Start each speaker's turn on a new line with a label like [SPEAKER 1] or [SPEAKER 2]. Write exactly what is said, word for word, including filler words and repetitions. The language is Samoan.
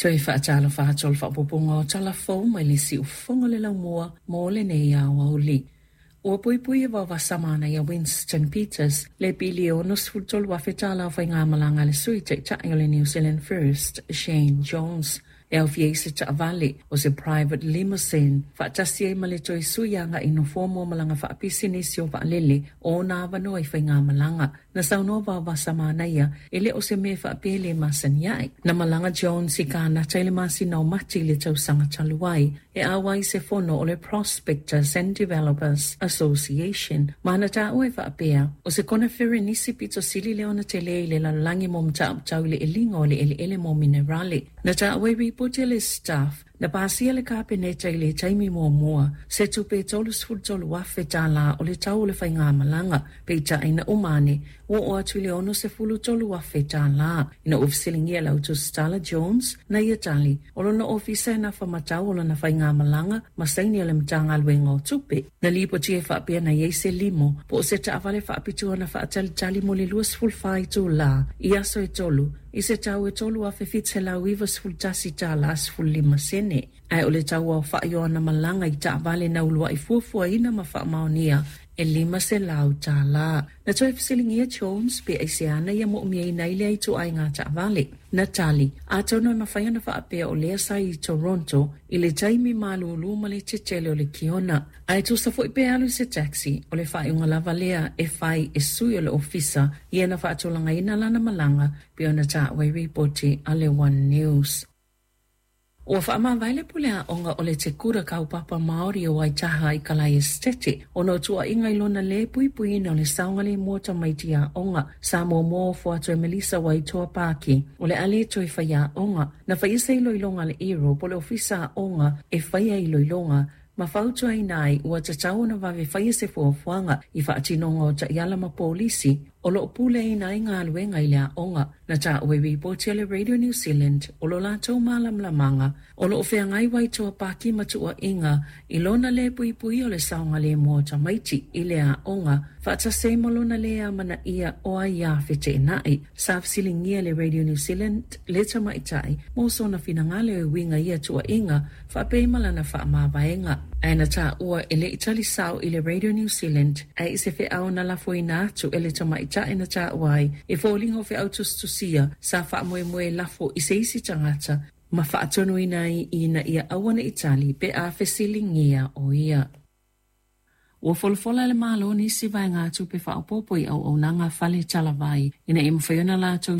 [SPEAKER 1] Toe faatalofa atu o le faaopoopoga o tala fou mai le siufofoga o le laumua mo lenei aoauli. Ua puipui e Vaovasa Manaia Winston Peters le piliona sefulu tolu afe tala o faigamalaga a le Sui Taitai o le New Zealand First, Shane Jones, e aofia ai se taavale o se private limousine faatasi ai ma le toe sui agai i nofoa mo malaga faapisinisi o vaalele o ona avanoa i faigamalaga. Na saunoa Vaovasa Manaia e le o se mea faapea e le masani ae. Na malaga Jones i Kanata i le masina o Mati i le tausaga talu ai e auai i se fono o le Prospectors and Developers Association ma na taua e faapea o se koneferenisi pito sili lea ona tele i le lalolagi mo mataupu tau i le eliga o le eleele mo minerale. Na taua i ripoti a le Stuff na pasia e le Kapeneta i le taimi muamua se tupe tolu sefulu tolu afe tala o le tau o le faigamalaga, peitai na uma ane ua oo atu i le ono sefulu tolu afe tala. Ina ua fesiligia e le autusitala Jones na ia tali o lona ofisa e nafa ma tau o lana faigamalaga ma saini a le Matagaluega o Tupe. Na lipotia e faapea na i ai se limo po o se taavale faapitoa na faatalitali mo le lua sefulu fa itula i aso e tolu i se tau e tolu afe fitu selau iva sefulu tasi tala sefulu lima sene. Ae o le tau aofa'i o ana malaga i taavale na ulua'i fuafuaina ma faamaonia e lima selau tala. Na toe fesiligia Jones pe aisea na ia mo'omiaina ai lea ituaiga taavale. Na tali, atonu e mafai ona faapea o lea sa i Toronto i le taimi malūlū ma le tetele o le kiona. Ae tusa foi pe alu i se taxi, o le faaiuga lava lea e fai e sui o le ofisa ia na faatulagaina lana malaga pei ona taua i ripoti a le One News. Ua faamavae le pule aoga o le Te Kura Kaupapa Māori o Waitaha i Kalae Esetete ona o tuuaiga i lona lē puipuiina o le saogalemu o tamaiti aoga. Sa muamua ofo atu e Melissa Waitoa Paki o le a le toe faiaoga. Na faia se iloiloga a le E R O po o le ofisa aoga e faia iloiloga ma fautuaina ai ua tatau ona vave faia se fuafuaga i faatinoga o taiala ma polisi o loo puleaina ai galuega i le aoga. Na taua i ripoti a le Radio New Zealand o lo latou malamalamaga o loo feagai Waitoa Paki ma tuuaiga i lona lē puipuia o le saogalemu o tamaiti i le aoga faatasi ai ma lona lē amanaia o aiā feteenai. Sa fesiligia le Radio New Zealand le tamaitai mo sona finagalo e uiga i ia tuuaiga faapea ma lana faamavaega, ae na taua e le i tali sao i le Radio New Zealand ae i se feau na lafoina atu e le tamaitai na taua ai e foliga o feau tusitusia sa faamoemoe lafo i se isi tagata ma faatonuina ai ina ia aua ne i tali pe a fesiligia o ia. Ua folafola e le Malo nisi vaegatupe faaopoopo i auaunaga fale talavai ina ia mafai ona latou